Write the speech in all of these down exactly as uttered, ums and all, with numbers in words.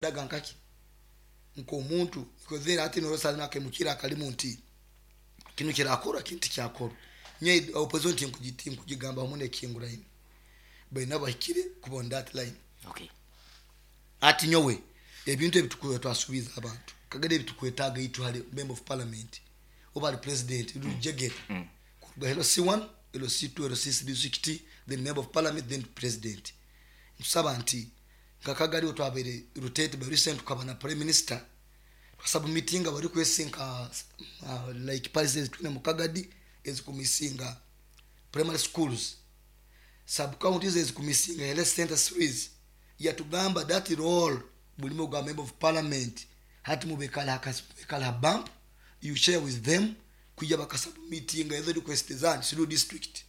Daga nkaki nk'omuntu because hati norosa nakemukira akalimu nti kinu kirakora, kinu tikyakora. Nye opposition tinkugiti nkugigamba hamu nekinguraine baina bahikire kuba on that line. Okay. Ati nyowe ebintu ebi twasuubiza abantu kagere ebitukwetaaga itu hali member of parliament oba ali president rujegere kuruga L C one, L C two, L C three district, then member of parliament, then president. Ntusaba nti nka Kagari twabaire rotate by recent tukaba na prime minister twasubmittinga bari kwesinka uh, like policies twine mu Kagadi ezikumisinga primary schools, sub counties ezikumisinga health center series. Yatugamba that role bulimo gwa member of parliament hati mubekala mubekala bump, you share with them kuja bakasubmittinga ezo request zanyu through district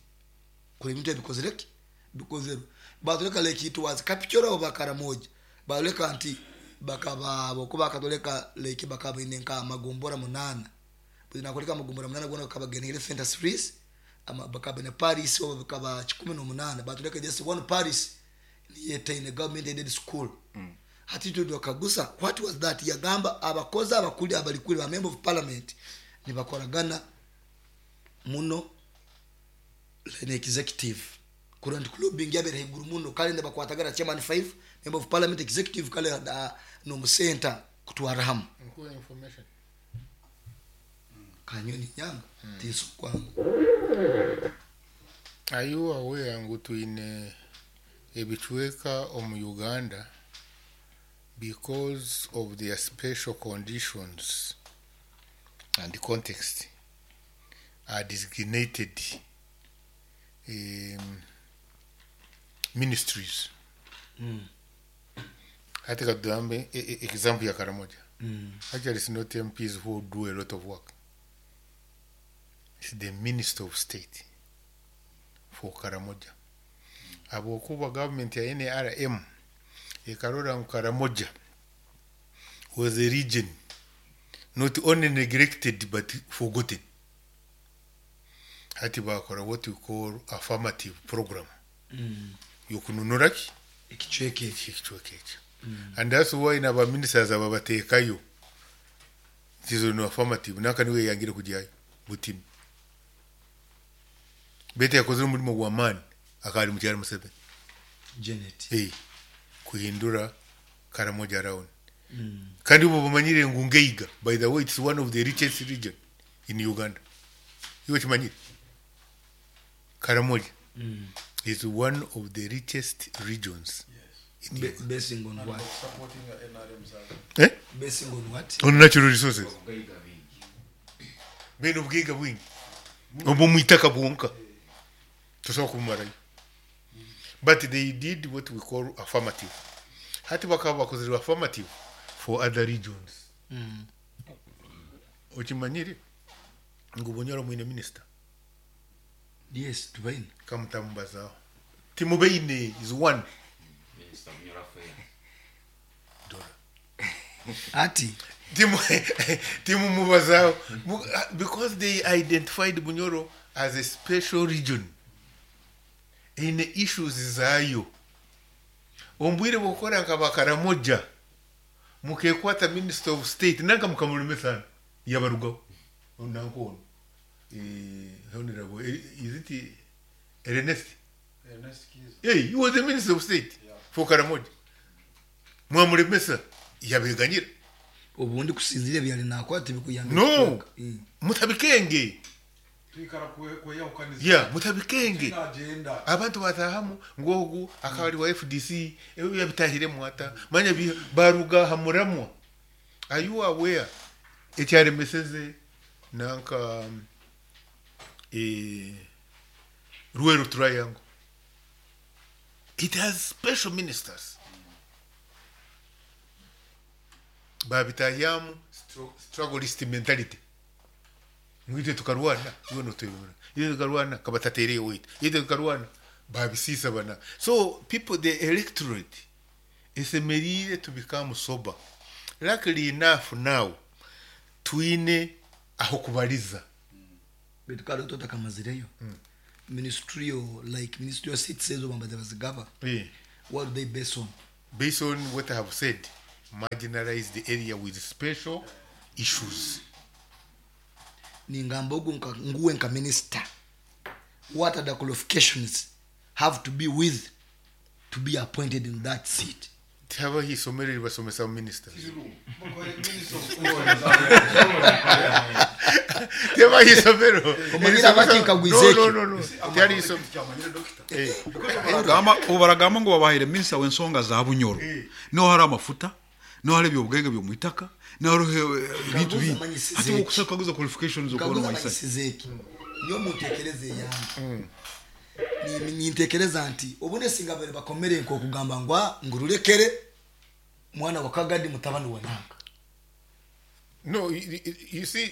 kuli ebintu ebikozereki bikozerwe. Batuleka like it was Kapchorwa oba Karamoja, baleka nti bakaba bokuba bakatoleka like bakaba ine nka magombora munana nakoleka amagombora munana gona bakaba health center series ama bakaba ne parish oba bakaba kikumi n'omunaana, batuleka just one parish niyetaine government aided school mm. Hati twakagusa what was that? Yagamba abakozi abakuli abalikuli ba member of parliament nibakoragana muno ne executive kurora nti lobbying yabere haiguru muno kale nibakwatagana chairman five, member of parliament, executive kale uh, nomusenta kutwara hamu. Nkuwa information. Kanyoni nyanga tiso kwangu. Are you aware ngu twine ebicweka omu Uganda, because of their special conditions and context, are designated um, ministries mm. Hati katugambe e- e- example ya Karamoja. Mm. Actually, it's not M Ps who do a lot of work, it's the minister of state for Karamoja. Habwokuba government ya N R M ekarora ngu Karamoja was a region not only neglected but forgotten, hati bakora what we call affirmative program Mm. yokununura ki ekicweka ekyo. Ekicweka ekyo, and that's why naba ministers aba bateekayo tizo no affirmative naka niwe yangire kujyayo butini bete yakozere omulimo gw'amaani akali mukyalo Museveni. Janet. Hey, kuhindura Karamoja round. mm. Kandi ubu bamanyire ngu ngeiga, by the way, it's one of the richest region in Uganda. Iwe kimanyire Karamoja Mm. is one of the richest regions in Be- Uganda. Basing on what? Supporting the N R M side. Eh? Basing on what? On natural resources. Obugaiga bingi. Bene obugaiga bwingi obwo mwitaka bwonka tosobola kubumarayo, but they did what we call affirmative. Hati bakaba bakozere affirmative for other regions. mm. Okimanyire ngu Bunyoro mwine minister? Yes, tubaine. Kamutamubazaho timubeine is one. Minisita Bunyoro Affair. Dora. Ati Timu timumubazaho Mu- because they identified Bunyoro as a special region eine issues zaayo. Ombwire bwokora nka Bakaramoja mukekwata minister of state nanka mukamuremesana yabarugaho nanka ono eh, honorable eh, is it Ernest? Ernest Kiza. Hey, he was the minister of state Yeah. for Karamoja, mwamuremesa yabeganyira. Obundi kusinzira ebyali nakwata tibikuyamba. No. Mm. Mutabikenge. Twikara kwe- kweyahukaniza. Ya mutabikenge. Agenda. Abantu batahamu ngogu akaba ari wa F D C ebyo yabitahiremu ata manya bi- baruga hamuramwa. Are you aware ekyaremeseze nanka um, eh, Luweero Triangle? It has special ministers babitahyamu stro- strugglist mentality ngwite tukarwana iwe notwebona iwe tukarwana kabatatereye weitu iwe tukarwana babisisa bana. So people, the electorate esemerire to become sober. Luckily enough, now twine aho kubaliza. Baitu kale totakamazireyo ministerial, like ministerial seats ezo bambaza bazigaba, yeah. what do they base on? Based on what I have said. Marginalized area with special issues. Ningamba ogu nka- nguwe nka minister, what are the qualifications have to be with to be appointed in that seat? Tihabaho isomero ribasomesa ministers. Tihabaho isomero. Omanyire abakikagwiza No, ekyo. no, no, no. Tihari isomero. Eh. Baragamba- ubu baragamba ngo babahaire minisita w'ensonga za Bunyoro, niho hari amafuta, niho hari ebyobugaiga by'omu itaka, niho hariho eh, ebintu Kaguza bingi. amanyisize Hati eki. okukaguza qualifications okubona kaguza waisani. amanyisize eki, niyo muntekereza eyange. Ni- nintekereza nti obune singa bari bakomere nk'okugamba ngu "Ah, ngurulekere mwana wa Kagadi mutabani wa nanka." No, you, you- you see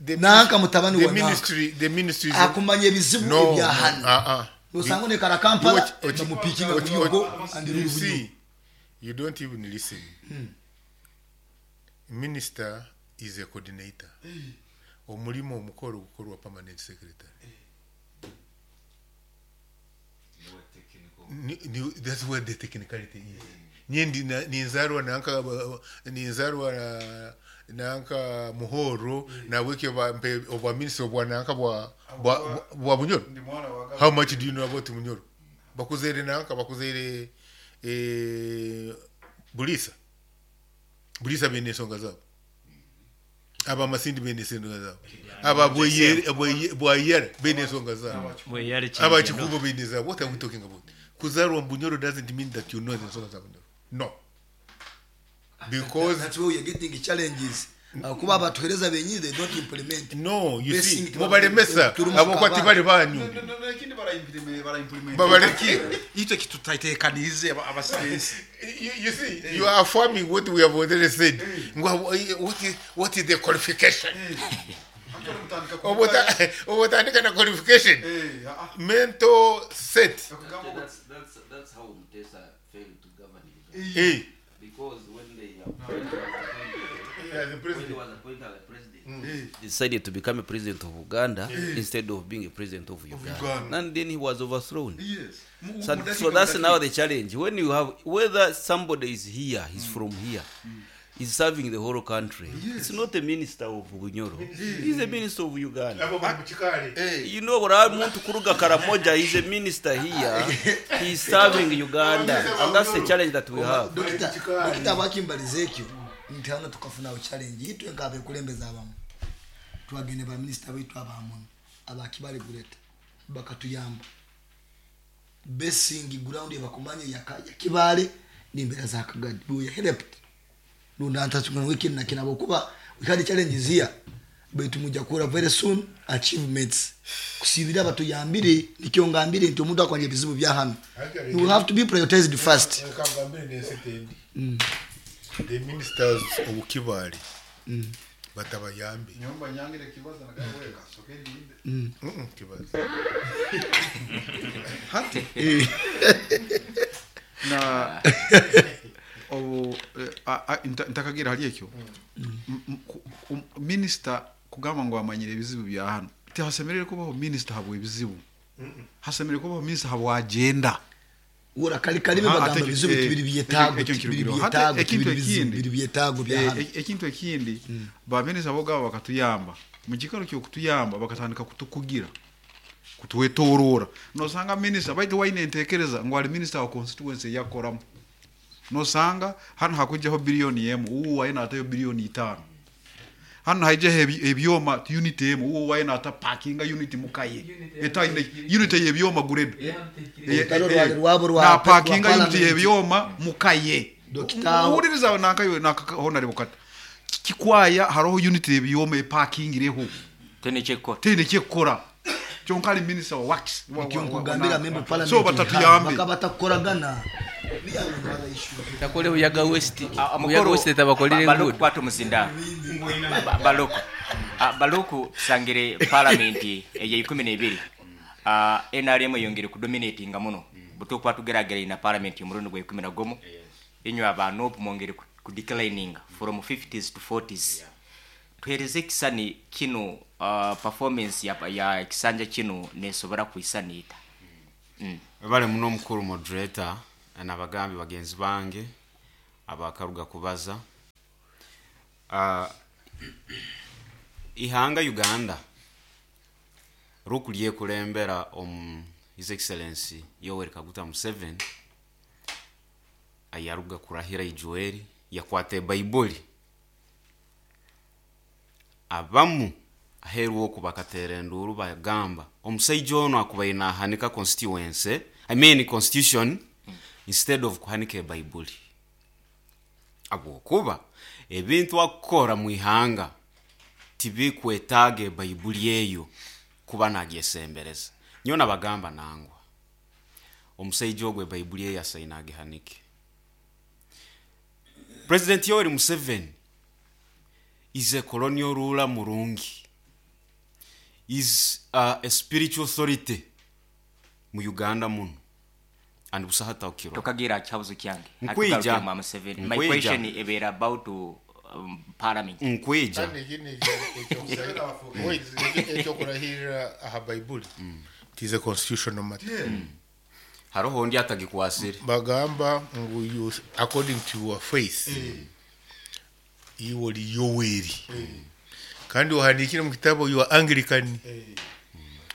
the Nanka mutabani the wa nanka. ministry the ministry is Akumanya ebizibu no, ebya hano. uh-uh. Nosanga onekara Kampala, Ochi- ochi- bamupikinga ochi- Bunyoro ochi- and you rule see, Bunyoro. you don't even listen. Minister is a coordinator. Omulimo omukolo gukorwa permanent secretary. Ni- ni- that's where the technicality is. Nyendi na- ninzarwa nanka, ninzarwa na- nanka Muhoro, naweke bampe obwa minister obwa nanka bwa bwa bwa Bunyoro. Ndi mwana wa How much do you know about Munyoro? Bakuzere nanka, bakuzere eh, Bulisa. Bulisa bene ensonga zaabo, abamasindi bene ensonga zaabo, aba Bweyere- Bweye- bwayera bene ensonga zaabo, abakikubo bene zaabo. What are we talking about? Kuzarwa Bunyoro doesn't mean that you know the ensonga za Bunyoro. No, because That's where we are getting challenges. Uh, kuba abatuhereza benyini, they don't implement. No, you Basic see, tiba- mubalemesa turi mu abokuba kabari. tibali banyu. Ekindi baraimplement. Babaleke. Itwe kitutateekanize abasigensi. you, you see, you are affirming what we have already said. Ngwa- What is, what is the qualification? Obota- Obotandika na qualification. Mental set. Actually, that's, that's, that's how Mutesa failed to govern Uganda. Eh. Because when they when he was appointed, Yeah, the when he president. was appointed as a president, decided to become a president of Uganda instead of being a president of Uganda. Uganda. And then he was overthrown. Yes. So, so that's now the challenge. When you have whether somebody is here, he's from here, is serving the whole country. It's not a minister of Bunyoro. He's a minister of Uganda. Abo bali mu kikaali. You know, buri muntu kuruga Karamoja is a minister here. He's serving Uganda. And that's the challenge that we have. Dokita, dokita, bakimbaliza ekyo nti hano tukafunawo challenge itwe nk'abekulembeza abamu, twagende baminisita baitu abamuno abakibale guleta bakatuyamba basing ground ebakumanya yaka- yakibale n'embeera za Kagadi. We helped lundantaswikini nakina okuba we had challenges here, baitu mujja kuhura very soon achievements kusibira batuyambire. Nikyo ngambire nti omuntu akwanya ebizibu bya hano, you will have to be prioritized first. Reka ngambire n'ensi tendi. The ministers of Kibaale batabayambe. Nyomba nyangire kibaza nagawe kasoke ndinde. Mm-mm, kibaza. Hati na obu eh, a- a- nta- ntakagira hali ekyo. M- m- ku- um- minisita kugamba ngo amanyire ebizibu bya hano, tihasemerere kubaho minisita habwa ebizibu, hasemerere kubaho minisita habwa agenda. Ura kali kalime Ha, bagamba ate- bizibu eh, tibiri byetaago, ekyo tibiri nkirugirwa. Hati byetaago, ekintu tibiri bizibu ekindi- biri byetaago bya Eh, hano. e- ekintu ekindi, baminisita bogaba bakatuyamba, mu kikaro kyokutuyamba bakatandika kutukugira, kutwetoorora. Nosanga minisita baitu waine entekereza ngu ali minisita wa constituency eyakoramu, nosanga hano hakujjaho biliyoni emu, uwu waine atayo biliyoni itaano. Hano haijaho ebi- ebyoma unit emu, uwo waine ata parkinga unit mukaye etaine unit yebyoma gureda. Olutalo rwali rwabo rwa- Na parkinga rwa unit parliament. yebyoma mukaye. Dokita- Uhuririza nankayo nakahonare bukata kikwaya hariho unit yebyoma eparkingireho. Tenekekora. Teine kyekukora, kyonka ali minisita wa works wa- wa- Nikyo wa- nkugambira wa- member parliament so batatuyambe. bakaba batakukoragana. We are on other issue. Takole Buyaga West. Ah, Buyaga West tabakolere Baluku enguudo. kwata omuzinda. Ba- baluku Ah, baluku tusangire palamenti eyeikumi nebiri. Ah, N R M eyongere kudominatinga muno butukuba tugerageraine na palamenti omurundi gwa ikumi na gumu, inywe aba N U P mwongere ku- kudeclininga from fifties to forties. Tuhereze ekisani kino, uh, performance ya, ya ekisanja kino nesobora kwisaniita mm. Webale muno omukulu moderator n'abagambi bagenzi bange abakaruga kubaza. Ah, ihanga Uganda rukulyekulembera omu His Excellency Yoweri Kaguta Museveni ayaruga kurahira ijueri yakwata ebaibuli abamu aheeru oku bakateera enduuru bagamba omusaija ono akubaire nahanika constituency, I mean constitution, instead of kuhanika ebaibuli, habwokuba ebintu akukora mu ihanga tibikwetaaga ebaibuli eyo kuba nagyesembereza. Nyowe nabagamba nangwa omusaija ogwo ebaibuli eyo asaine agihanike. President Yoweri Museveni is a colonial ruler murungi, is uh, a spiritual authority mu Uganda muno and busaha taukirwa. Tokagira kihabuzo kyange. Nkwija. Hatugarukire mwa Museveni. My Nkwija. question ebeera about um, parliament. Nkwija. Kandi ekindi ekyo- wait, ekyo- ekyokurahirira aha baibuli, it is a constitutional matter. Haroho ondi atagikwasire. Bagamba ngu you, according to your faith, iwe oli Yoweri kandi ohandikire mu kitabo you are Anglican,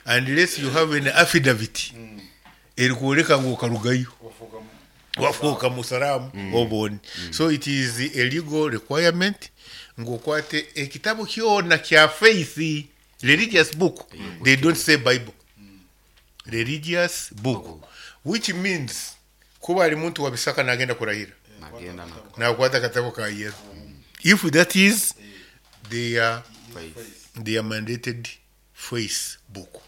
unless you have an affidavit erikwoleka ngu okarugayo wafuuka musalamu oboni. So it is a legal requirement ngu okwate ekitabo kyona kya faith, religious book. They don't say Bible, religious book, which means kuba ali muntu wa bisaka nagenda kurahira, nagenda nako nakwata akatabo ka yero, if that is their faith. Their mandated faith book.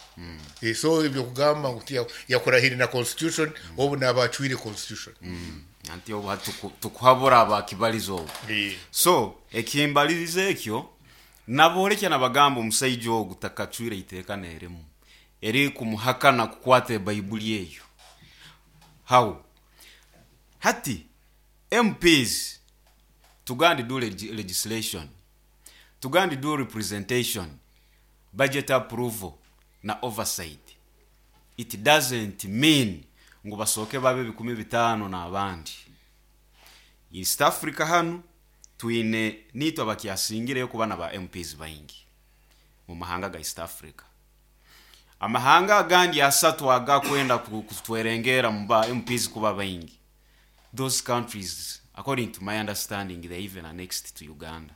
Eh, so ebyo kugamba ngu tiya- yakurahira na constitution, obu nabacwire constitution. Anti obu hati tuku- tukuhabura abakibaliza obu. Eh. So ekimbaliriza ekyo nabolekya nabagamba omusaija ogu takacwire iteeka nerimu eri kumuhakana kukwata ebaibuli eyo. How hati M Ps tugandi do leg legislation, tugandi do representation, budget approval na oversight, it doesn't mean ngu basooke babe bikumi bitaano n'abandi. East Africa hanu twine nitwe abakyasingireyo kuba na ba M Ps baingi mu mahanga ga East Africa. Amahanga agandi asatu agakwenda ku- kutwerengera mu ba M Ps kuba baingi, those countries, according to my understanding, they even annexed to Uganda,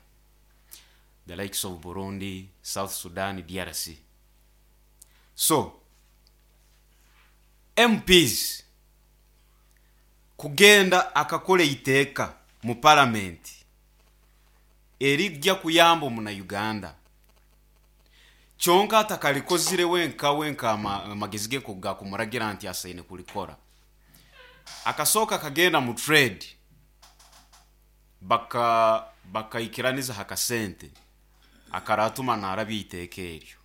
the likes of Burundi, South Sudan, D R C. So M Ps kugenda akakola iteeka mu palamenti erijja kuyamba omunauganda, kyonka atakalikozire wenka wenka ama- amagezi ge gakumuragira nti asaine kulikora, akasooka kagenda mu trade baka bakaikiraniza hakasente akaratuma narabya iteeka eryo,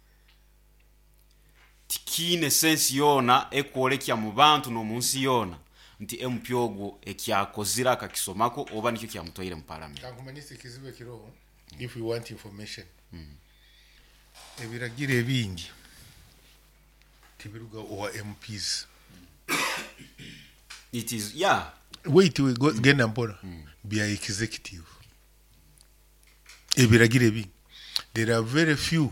tikiine sensi yoona ekwolekya mu bantu n'omu nsi yoona nti M P ogwo ekyakozire akakisomako oba nikyo kyamutwaire mu palamenti. Kankumanyisa ekizibu ekiriho. If you want information, ebiragiro ebingi tibiruga owa M Ps. It is, yeah. Wait, we go, genda mpora. Bya executive ebiragiro ebingi. There are very few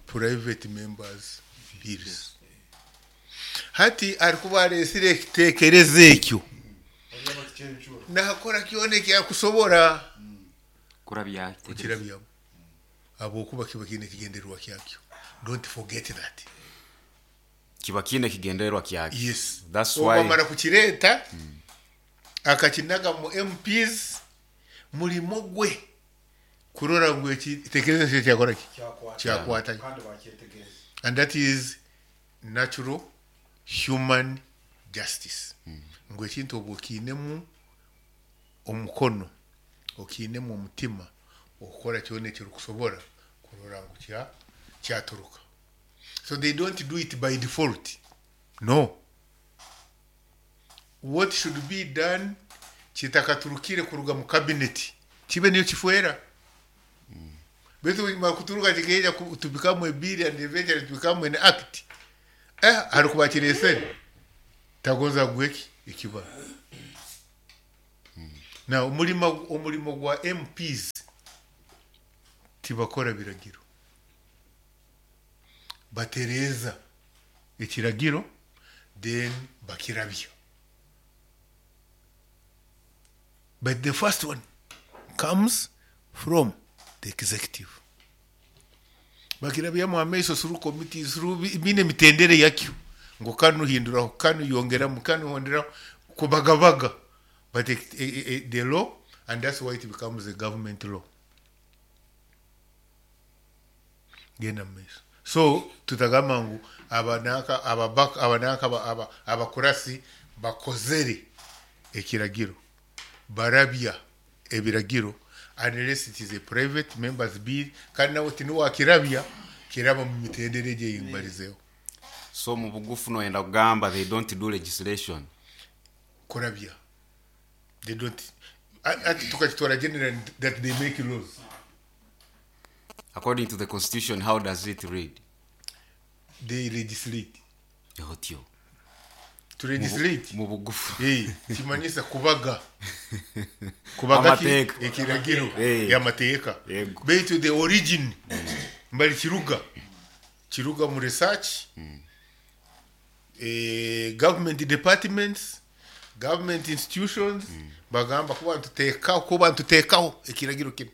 private members bills. Hati arikuba aresire ekiteekerezo ekyo nakora kyona ekyakusobora kurabya. Kukirabyamu habwokuba kiba kiine ekigendererwa kyakyo. Don't forget that. Kiba kiine ekigendererwa kyakyo. Yes. That's why obamara kukireeta akakinaga mu M Ps, mulimo gwe kurora ngu ekitekerezo kyo kyakora ki, kyakwatayo. And that is natural human justice, ngu ekintu obu okiinemu omukono, okiinemu omutima, okukora kyona ekirikusobora kurora ngu kya kyaturuka. So they don't do it by default, no. What should be done kitakaturukire kuruga mu cabinet, kibe niyo kifwera, baitu bwekimara kuturuka kikeija ku- to become a bill and eventually to become an act, eh harikuba kiresere tagonza gweki ekiba. Now omulimo omulimo gwa M Ps Tibakora biragiro, batereeza ekiragiro, then bakirabya. But the first one comes from the executive, bakirabyamu amaiso through committees, through bine emitendere yakyo, ngu kanu hinduraho, kanu yongeramu, kanu honderaho, kubagabaga. But it, it, it, the law, and that's why it becomes a government law. Genda mu maiso. So tutagamba ngu abanaka ababaka abanaka aba- aba- abakurasi bakozere ekiragiro, barabya ebiragiro, unless it is a private members bill, kandi nawe tiniwakirabya, kiraba mu mitendere gyeyimbarizeho. So mu bugufu noyenda kugamba they don't do legislation? Kurabya, they don't. Ati tukakitwara general that they make laws. According to the constitution, how does it read? They legislate. Otyo. To legislate, mu bugufu. Eh, kimanyisa kubaga kubaga ki? Amateeka. Ekiragiro. Eh. Amateeka. Yego. Baitu the origin mbali kiruga kiruga mu research, eh, government departments, government institutions, bagamba kuba ntuteekaho kuba ntuteekaho ekiragiro kino,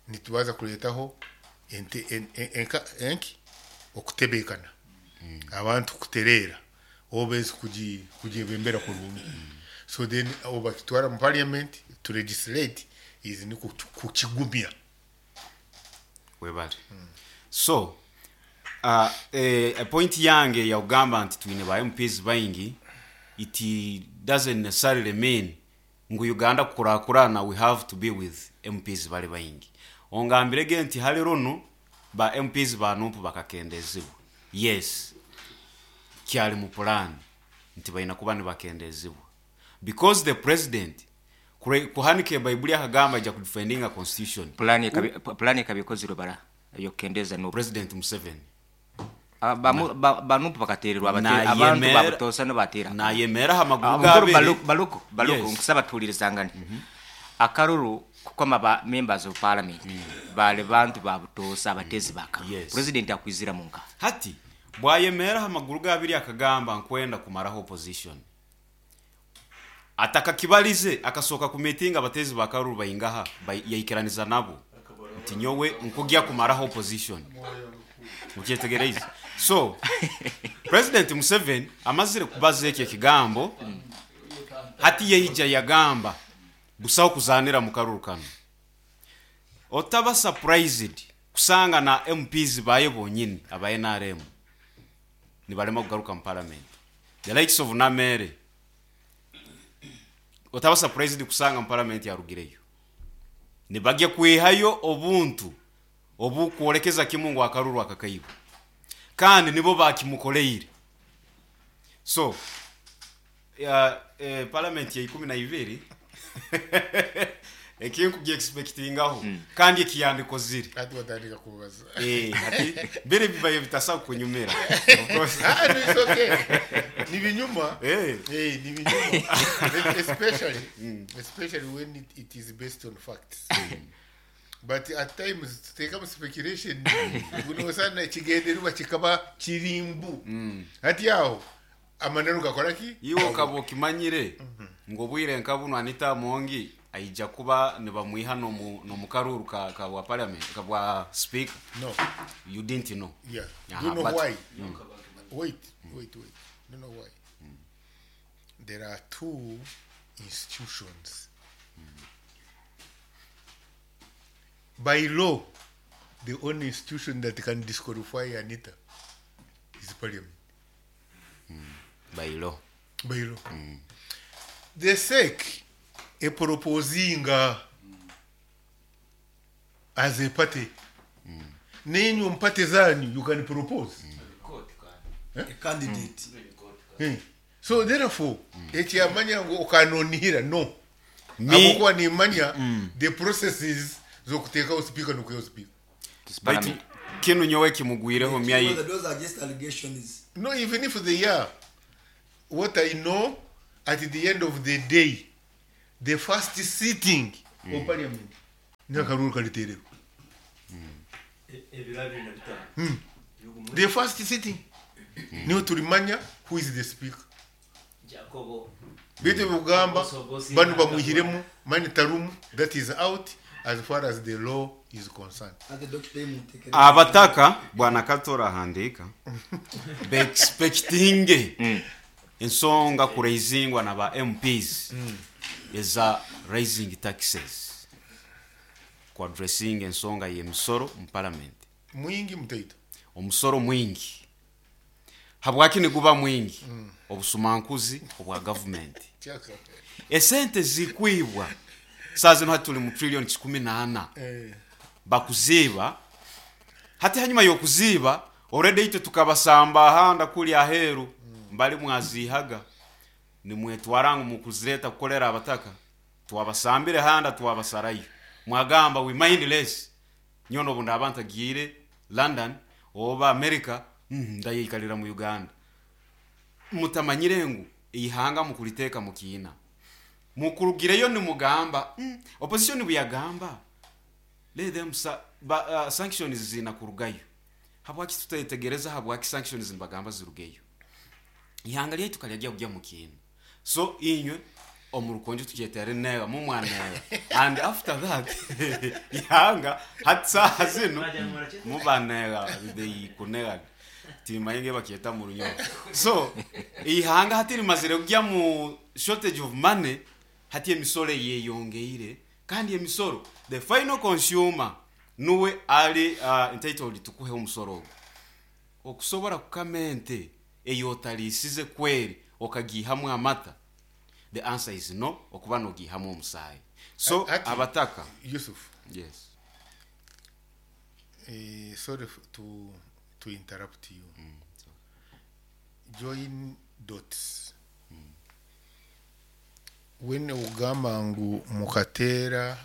nitubaza kuleetaho ente- en- en- enka- enki okutebeekana, abantu kutereera, oba ensi kugi- kugyebembera kurungi. So then obakitwara mu parliament to legislate is ni kuki- kukigumya. Webale. So uh, eh, point yange yakugamba nti twine ba M Ps baingi, it doesn't necessarily mean ngu Uganda kukurakurana we have to be with M Ps bali baingi. Ongambirege nti hali runo ba M Ps ba N U P bakakendezibwa. Yes, kyali mu plan nti balina kuba nibakendezibwa because the president kure- kuhanika ebaibuli akagamba ajja kudefendinga constitution. Pulani ekabi- pulani ekabikozirwe bara eyokukendeza N U P. President Museveni. Ah, bamu- ba- ba N U P bakatererwa abate- Nayemera- abantu babutosa nibatera. Nayemera aha maguru Ah, mukuru. gabiri. Baluku, Baluku, Baluku. Yes. Nkusaba tuwulirizangane. Akaruru kukoma ba members of parliament bali bantu babutosa abatezi bakaruru. Yes. President akwizira munka. Hati bwayemera aha maguru gabiri akagamba nkwenda kumaraho opposition, atakakibalize akasooka ku meeting abatezi bakaruru baingaha bai- yaikiraniza nabo nti nyowe nkugya kumaraho opposition. Mukyetegereize? So President Museveni amazire kubaza ekyo ekigambo, hati yeija yagamba busaho kuzanira mu karuru kano. Otaba surprised kusanga na M Ps baye bonyini aba N R M nibalema kugaruka mu parliament, the likes of Namere. Otaba surprised kusanga mu parliament yarugireyo, nibagya kwihayo obuntu obukwolekeza kimu ngu akaruru akakaiba, kandi nibo bakimukoleire. So ya, eh, parliament ya ikumi na ibiri ekinkugyexpectingaho mm. kandi ekiyandikozire. Ati batandika kubaza. Eh, ati biri bibaye bitasa kunyumira, of course. Ah, no, it's okay. Ni binyuma. Eh. Eh, ni binyuma, especially especially when it, it is based on facts, but at times tuteekamu speculation gunosana ekigendererwa kikaba kirimbu. Ati aho amananu gakora ki? Iwe ukaba okimanyire ngu obwire nka buno Anita Amongi aija kuba nibamwiha nomu nomu karuru ka, ka bwa parliament, ka bwa speaker. No. You didn't know? Yeah. Aha, Do you know but- why? Wait, wait, wait. Do you know why? There are two institutions. By law, the only institution that can disqualify Anita is Parliament. By law. By law. The S E C eproposinga as a party. Nenyu mpate zanyu, you can propose. A candidate. Eh. So therefore, ekyamanya ngu okanonihira, no. Me- Akokuba nimanya the processes zokuteekawo speaker nokuyawo speaker. Baitu kinu nyowe kimugwireho myayi. Those are just allegations. No, even if they are, what I know, at the end of the day, the first sitting of parliament, n'akalulu kaliteererwa. Ebiro abiri na bitaano. The first sitting niho tulimanya who is the speaker. Jacobo. Bitu bugamba Bosi- banu bamwihiremu mani tarumu, that is out as far as the law is concerned. Ate Doctor Imutekere. Abataka bwana Katora ahandika beexpectinge ensonga kuraisingwa na ba M Ps eza raising taxes, kuaddressing ensonga y'emisoro mu parliament. Mwingi mutaito. Omusoro mwingi. Habwaki niguba mwingi? Obusumankuzi obwa gavumenti. Chaka. Esente zikwibwa saa zino, hati tuli mu trillion kikumi na ana. Eh. Bakuziiba hati hanyuma y'okuziiba already itwe tukabasamba ahanda kuli aheeru mbali mwaziihaga nimwetwara ngu mukuzireta kukolera abataka. Twabasambire handa, twabasarayo, mwagamba we mind less. Nyono obu ndaba ntagiire London oba America, mm, ndayikalira mu Uganda. Mutamanyire ngu ihanga mukuliteeka mukiina mukurugireyo nimugamba mm, opposition buyagamba let them sa, ba, uh, sanctions zina kurugayo. Habwaki tutayetegereza? Habwaki sanctions nibagamba zirugeyo? Ihanga lyaitu kalyajya kujya mukiina. So inywe omurukonjo tukyetere nega mumwanega, and after that ihanga hati saha zino mubanega kunega timayinge bakyeta mu Runyoro. So ihanga hati rimazire kujya mu shortage of money. Hati emisoro yeyongeire, kandi emisoro the final consumer nuwe ali uh, entitled tukuhe omusoro ogwo. Okusobora kukama ente eyotalisize kweri okagihamu amata, the answer is no, okuba nogihamu omusaayi. So Ati- abataka. Yusuf. Yes. Eh, sorry f- to to interrupt you. Join dots. When ugamba ngu mukateera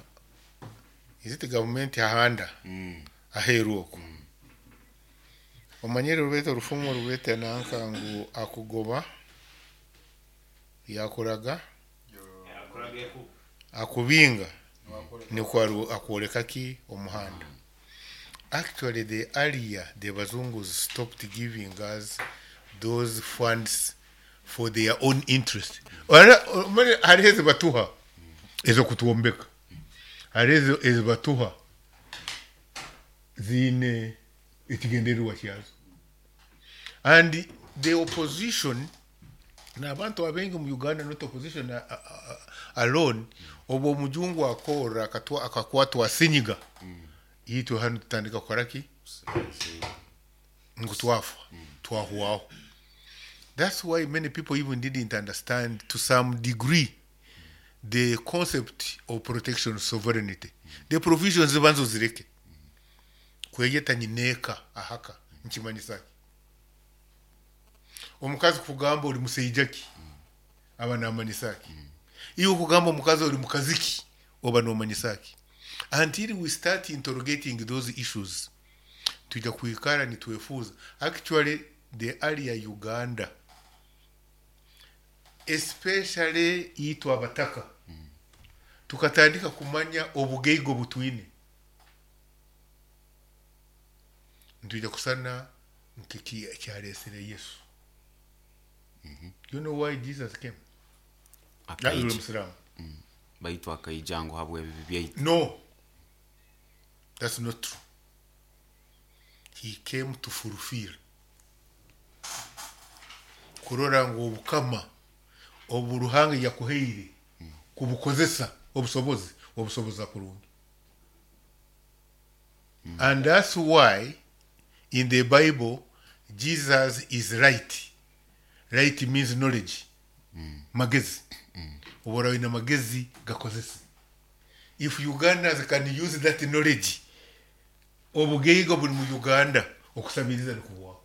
is it government ahanda aheeru okwo, omanyire rubete orufumu rubete nanka ngu akugoba yakoraga akubinga nikwo aru- akwoleka ki omuhanda. Actually, the earlier the bazungus stopped giving us those funds for their own interest. Ora- omanye hariho ezibatuha ezokutwombeka, hariho ezo- ezibatuha ziine ekigendererwa kyazo. And the opposition n'abantu abengi mu Uganda, not opposition a- a- a- alone, obwo omujungu akora akatwa- akakwatwa sinyiga itwe hano tutandika kukora ki ngu twafa twahwaho. That's why many people even didn't understand to some degree the concept of protection of sovereignty. The provisions zibanza ozireke kweyeta nyineeka ahaka nkimanyisa ki omukazi kugamba oli musaija ki aba namanyisa ki, iwe kugamba omukazi oli mukazi ki oba nomanyisa ki. Until we start interrogating those issues, tujja kwikara nitwefuuza. Actually, the earlier Uganda, especially itwe abataka, tukatandika kumanya obugaiga butwine, ntujja kusana nkeki kyalesere Yesu. You know why Jesus came? Akaija. Uri Musiramu. Baitu akaija ngu habw'ebibi byaitu. No, that's not true. He came to fulfill, kurora ngu obukama obu Ruhanga yakuhaire kubukozesa obusobozi obusoboza kurungi. And that's why in the Bible Jesus is right. Right means knowledge, magezi. Obora wine magezi, gakozesa. If Ugandans can use that knowledge, obugaiga buli mu Uganda okusabiriza nikuwaho.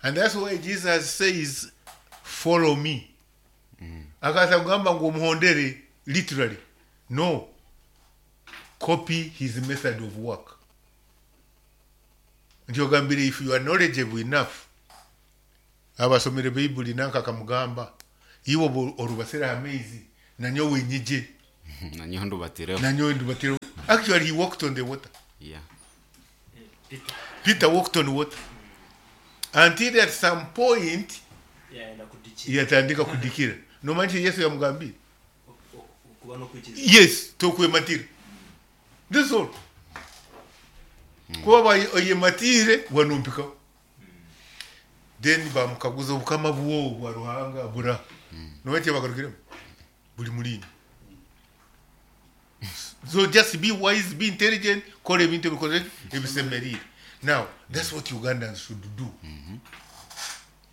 And that's why Jesus says, "Follow me." Akaza kugamba ngu omuhondere literally? No, copy his method of work. Nti ogambire if you are knowledgeable enough, abasomere Bayibuli nanka akamugamba iwe obu orubasire amaizi nanyowe nyije. Nanyowe ndubatireho. Nanyowe ndubatire. Actually, he walked on the water. Yeah. Peter walked on water until at some point yayenda kudikira yatandika kudikira. Nomanya Yesu yamugambire okuba n'okwikiriza yes tokwematira. That's all. Kuba oyematire wanumpikaho. Then bamukaguza obukama bwo bwa Ruhanga bura. Nomanya kyebagarukiremu buli mulini. So just be wise, be intelligent, kora ebintu ebikoze ebisemerire. Now that's what Ugandans should do.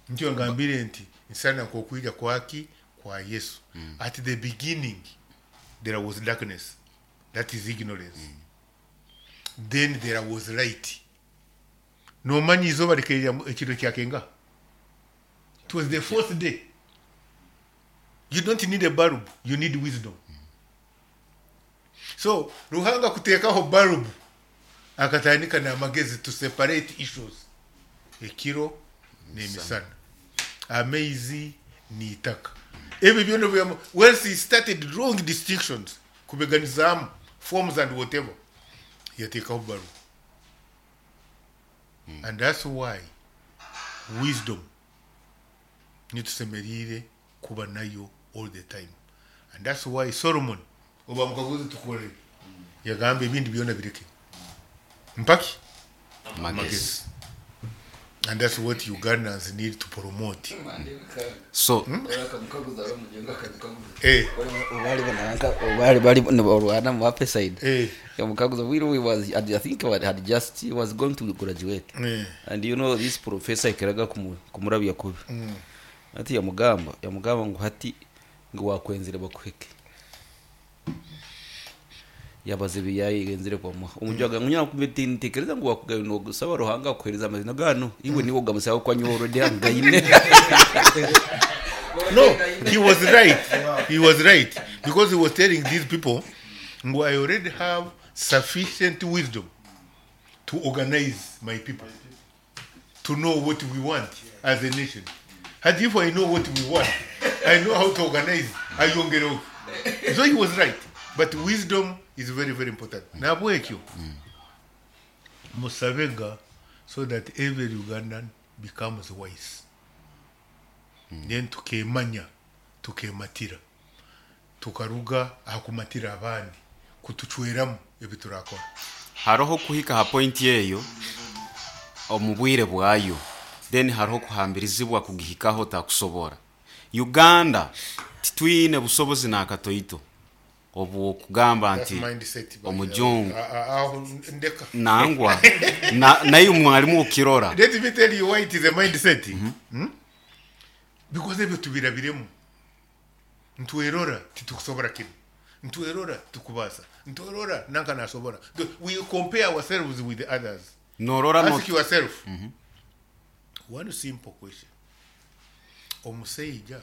Nikyo ngambire nti nsana nkokwija kwaki kwa Yesu. At the beginning there was darkness, that is ignorance. Then there was light. Nomanyi izooba rikeerya ekiro kyakenga. It was the fourth day. You don't need a bulb, you need wisdom. So Ruhanga kuteekaho bulb akatandika n'amagezi to separate issues. Ekiro n'emisana, amaizi n'itaka, ebyo byona byamu. Once he started drawing distinctions, kubeganizaamu forms and whatever, yateekaho bulb. And that's why wisdom nitusemeriire kuba nayo all the time. And that's why Solomon oba mukaguzi tukore yagamba ebindi byona bireke mpaki Magezi. And that's what Ugandans need to promote. So Eh, bali bali nibarwana mu upper side eh, yamukaguza bwire we was, I think he had just, he was going to graduate eh. and you know this professor ikeraga kumu- kumurabya kubi ati yamugamba yamugamba ngo hati ngo wakwenzire bakuheke yabaze biyayenzire kwamuha umujwaga ngunya kumetintekereza ngo wakugayo no gusaba Ruhanga kuhereza amazina gano iwe niwo gamusaba kwa nyoro de ngaine. No, he was right. He was right because he was telling these people, "Ngo, I already have sufficient wisdom to organize my people, to know what we want as a nation. And if I know what we want, I know how to organize." Ayongereo. So he was right. But wisdom is very, very important. Nabwekyo, musabega so that every Ugandan becomes wise. Then tukemanya, tukematira, tukaruga ahakumatira abandi kutucweramu ebi turakora. Hariho kuhika ha point eyo omu bwire bwayo, then hariho kuhambirizibwa kugihikaho takusobora. Uganda titwine busobozi n'akatoito obwokugamba That's nti mindset by omujungu the way. Ah, ah, aho ndeka. Nangwa na, naye mwalimu okirora. Let me tell you why it is a mindset. Hmm? Because ebyo tubirabiremu, ntwerora titukusobora kinu, ntwerora tukubasa, ntwerora nanka nasobora. We compare ourselves with the others. Norora no Ask yourself one simple question. Omuseija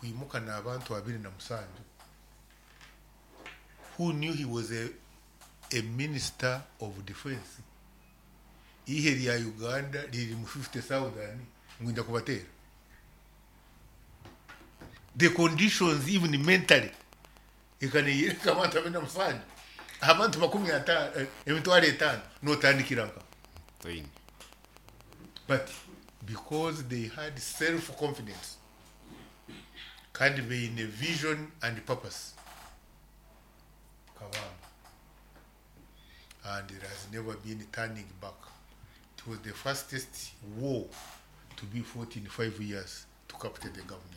kwimuka n'abantu abiri na musanju who knew he was a, a minister of defense, ihe lya Uganda liri mu fifty thousand ngwinda kubatera. The conditions even mentally ikaniyereka abantu abiri na musanju, abantu makumi atano, eh, emitwaro etaano notandikira nka. Toine. But because they had self-confidence kandi beine vision and purpose, kabamba, and it has never been turning back. It was the fastest war to be fought in five years to capture the government.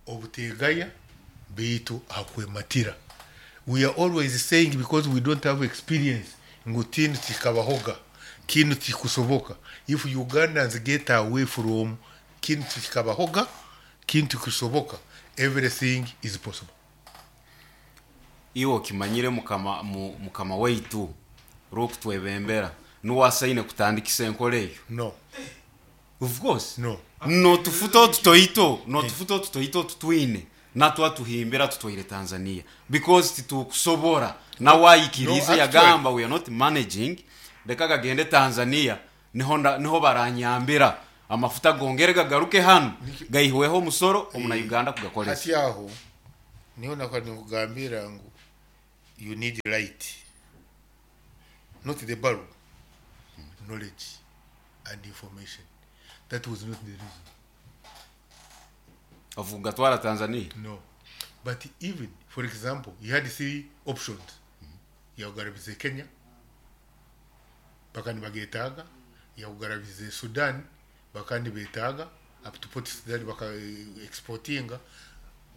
Obutegaya beitu akwematira. We are always saying because we don't have experience ngu tinu tikabahoga, kinu tikusoboka. If Ugandans get away from kinu tikabahoga, kinu tikusoboka, everything is possible. Iwe okimanyire mukama, mu, mukama waitu rwokutwebembera nuwasaine kutandikisa enkola eyo. No. Of course. No. Notufuta otutoito, notufuta otutoito otutwine natwatuhimbira tutwaire Tanzania because titukusobora nawayikirize. No, yagamba we are not managing, reka gagende Tanzania, niho nda- niho baranyambira amafuta gongere gagaruke hano gaihweho omusoro omuna Uganda kugakoresa. Hati aho niho nakwa nikugambira ngu you need light. Not the bulb. Knowledge and information. That was not the reason. Avuga Tanzania. No. But even, for example, you had three options. Yagarabize Kenya, bakandi bagetaaga, yagarabize Sudan, bakandi betaaga, up to Port Sudan baka exportinga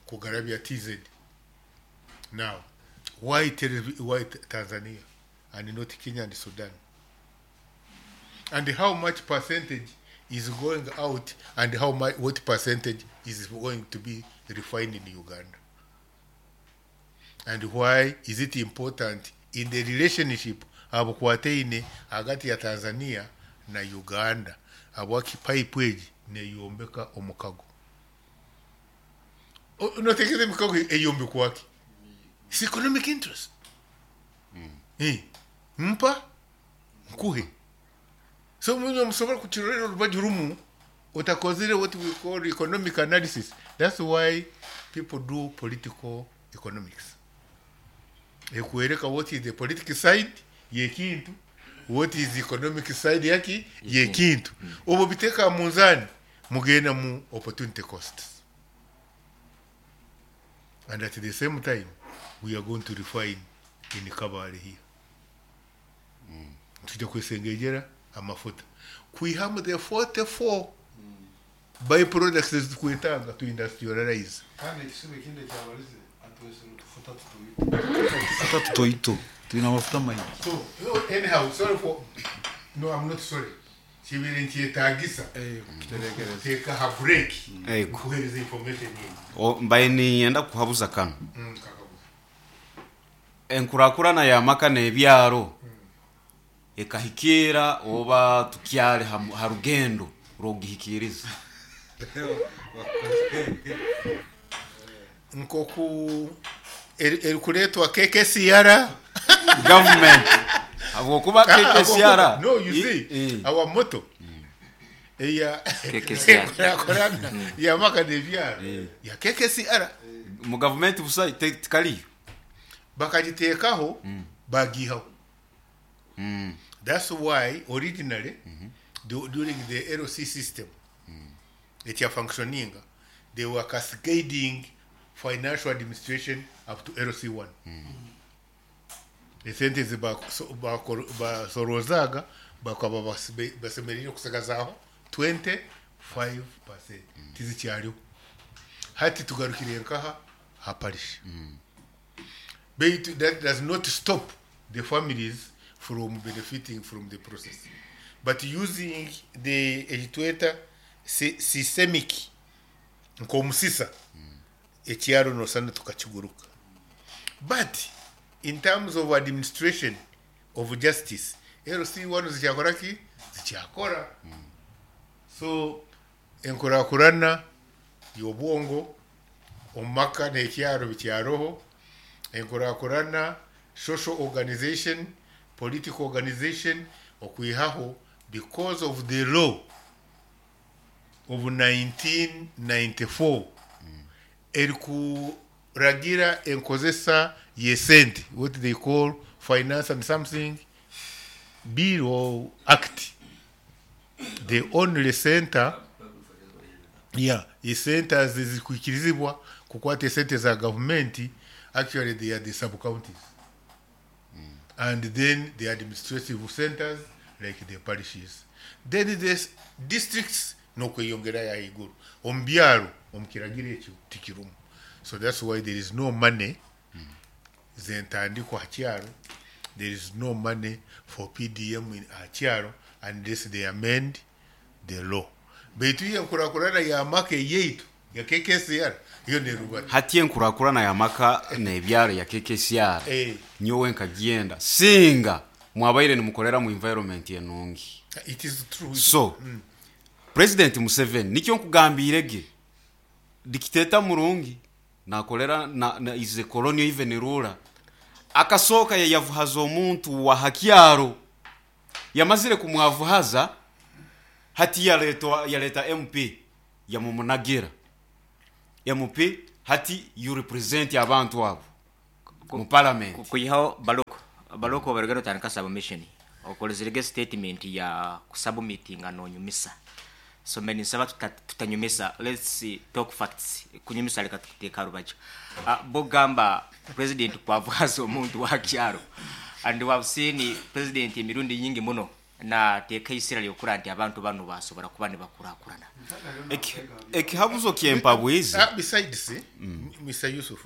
kugarabya T Z. Now, why, why Tanzania and not Kenya and Sudan? And how much percentage is going out and how much, what percentage is going to be refined in Uganda? And why is it important in the relationship abukwataine hagati ya Tanzania na Uganda? Abwaki pipe egi neyombeka omukago. Notekereza emikago eyombekwa ki? It's economic interest. Mm. Eh, mpa nkuhe. So munyo musobola kukirorera orubaju rumu otakozire what we call economic analysis. That's why people do political economics. Ekwereka what is the political side yekintu, what is the economic side yaki yekintu. Obo biteka munzani mugenda mu opportunity costs. And at the same time we are going to refine in Kabale here. Mm. Tujja kwesengejera amafuta. Kuihamu the forty-four mm. byproducts zikwetanga to industrialize. Kandi ekisibe kinde kyabalize atwesero tufuta tutoito. Tufuta tutoito. Tulina amafuta maingi. So, anyhow, sorry for no, I'm not sorry. Kibere nkyetagisa. Eh, kiterekereza. Take a break. Eh, kuhereza information yindi. O mbaye niyenda kuhabuza kano. Mm, Enkurakurana ya maka n'ebyaro. Mm. Ekahikira oba tukyale ha rugendo rw'ogihikiriza. Nkoku erikuletwa K K C R government habwokuba K K C R. No, you see I, our motto eya K K C R ya maka n'ebyaro ya K K C R mu government busa tikaliyo bakagiteekaho bagihaho. Mm. That's why originally mm-hmm. do, during the L C system, mm. it functioning, they were cascading financial administration up to L C one. Mm. The sentence basorozaga bakaba basemerire kusagazaho twenty-five percent. Tizikyariho. Hati tugarukire nkaha haparish. Mm. But that does not stop the families from benefiting from the process. But using the ekitweta systemic nkomusisa ekyaro nosana tukakiguruka. But in terms of administration of justice, L C one zikyakora ki? Zikyakora. So enkurakurana y'obwongo omaka n'ekyaro bikyaroho, enkurakurana social organization, political organization okwihaho because of the law of nineteen ninety-four mm. erikuragira enkozesa yesente, what they call finance and something bill or act. The only center yeah esente zikwikirizibwa kukwata esente za government, actually they are the sub counties. And then the administrative centers like the parishes. Then the districts no kweyongera ya iguru. Ombyaro omukiragiro ekyo tikirumu. So that's why there is no money mm. zentandikwa hakyaro. There is no money for P D M in hakyaro unless they amend the law. Baitu enkurakurana ya maka yeitu ya K K C R iyo nerubata. Hati enkurakurana ya maka n'ebyaro ya K K C R. Eh. Nyowe nkagenda singa mwabaire nimukorera mu environment enungi. It is true. So mm. President Museveni nikyo nkugambirege dictator murungi nakolera na, na is a colonial even ruler akasoka yayavuhaza omuntu wa hakyaro yamazire kumwavuhaza hati yaleta yaleta M P yamumunagira M P hati you represent abantu abo mu parliament kuyihaho baloko baloko barugero tandika submission Okolezerege statement ya kusubmittinga nonyumisa. So meni nsaba tuta, tutanyumisa. Let's see, talk facts. Kunyumisa leka tukuteka rubaju. Uh, bogamba president kwavaza omuntu wa kyaro. And we have seen president emirundi nyingi muno na teeka isira lyokura nti abantu bano basobola kuba ne bakurakurana. Ekihabuzo kyempabwizi. Ah, besides, mm. Mister Yusuf,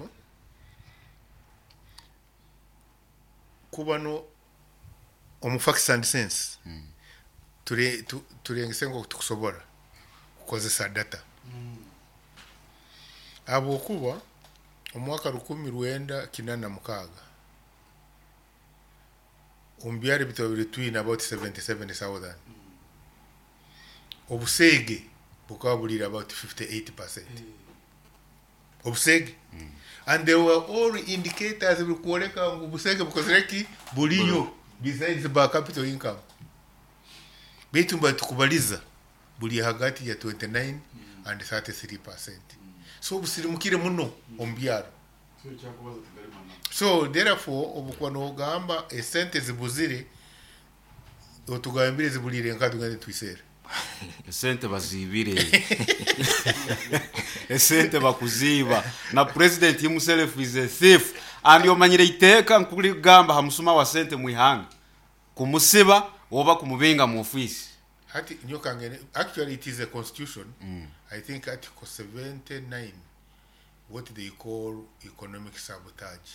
kubano omu facts and sense mm. ture tu, turengese ngo tukusobora kukozesa data mm. Abo kuba omwaka rukumi rwenda kinana mukaga ombyari bitobiri twin about seventy-seven thousand mm. Obusege bukaba bulira about fifty-eight percent mm. Obusege mm. And there were all indicators bikuoleka ngu busege bukozereki buliyo besides by capital income. Baitu mba tukubaliza buli hagati ya twenty-nine mm. and thirty-three percent. Mm. So busirimukire muno ombyaro. So therefore obukuba nogamba esente zibuzire otugambire zibulire nka tugende twisere. Esente bazibire. Esente bakuziba. Na president himself is a thief. And yomanyire iteka nkuligamba hamusuma wa sente mwihanga. Kumusiba oba kumubinga mu office. Hati nyoka ngene actually it is a constitution. Mm. I think article seventy-nine what they call economic sabotage.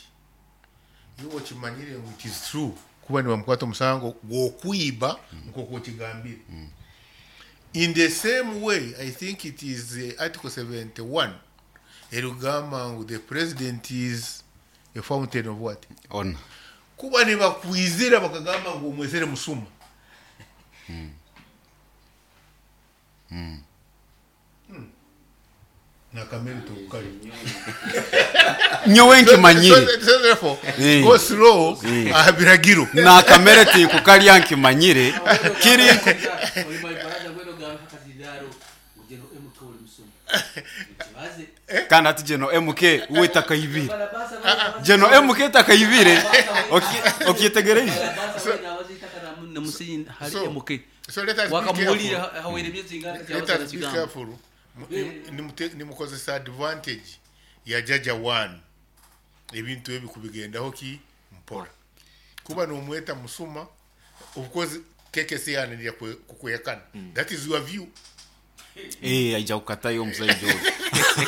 You okimanyire it is true kuba ni bamukwata omusango gw'okwiba nk'oku okigambire. Mm. In the same way, I think it is uh, Article seventy-one. Erugamba the president is a fountain of what? On. Kuba ne bakwizira bakagamba ngo omwezere musuma. Mm. Mm. Mm. Nakamere tukali. Nyowe nkimanyire. So therefore, go slow abiragiro. Nakamere tikukalya nkimanyire. Kiri kandi ati jeno M K we takayibire. Jeno M K takayibire. Okyetegereje. So let us be careful. Let us be careful. Nimukozesa advantage ya jaja one. Ebintu ebi kubigendaho ki mpora. Kuba nomweta musuma of course K K C ananira kukwekana. That is your view. Eh aija kukatayo omusajja oyo.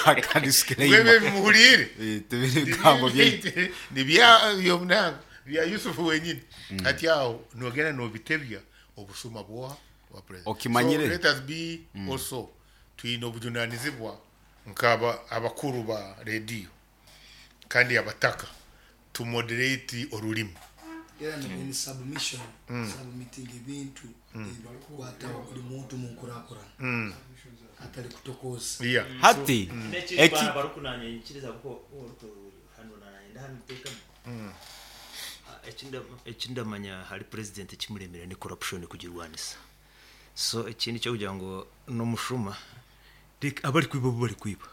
Akadisclaimer. Wewe muhulire. Eh tubiri gambo bye. Ni bya byomna bya Yusuf wenyini. Ati aho nogena no bitebya obusuma bwoha wa president. Okimanyire. So let us be mm. also twine obujunanizibwa nkaba abakuru ba radio kandi abataka to moderate orulimi. Era ni submission mm. submitting ebintu ebikwata buli muntu mu nkurakurana mm. atali kutokoza. Yeah. Hati mm. eki barukunanya nkiriza kuko hano nanaenda hano teka mm. Ekinda ekindamanya hari president kimuremera ni corruption kugirwanisa. So ikindi cyo kugira ngo no mushuma abari kwiba bo bari kwiba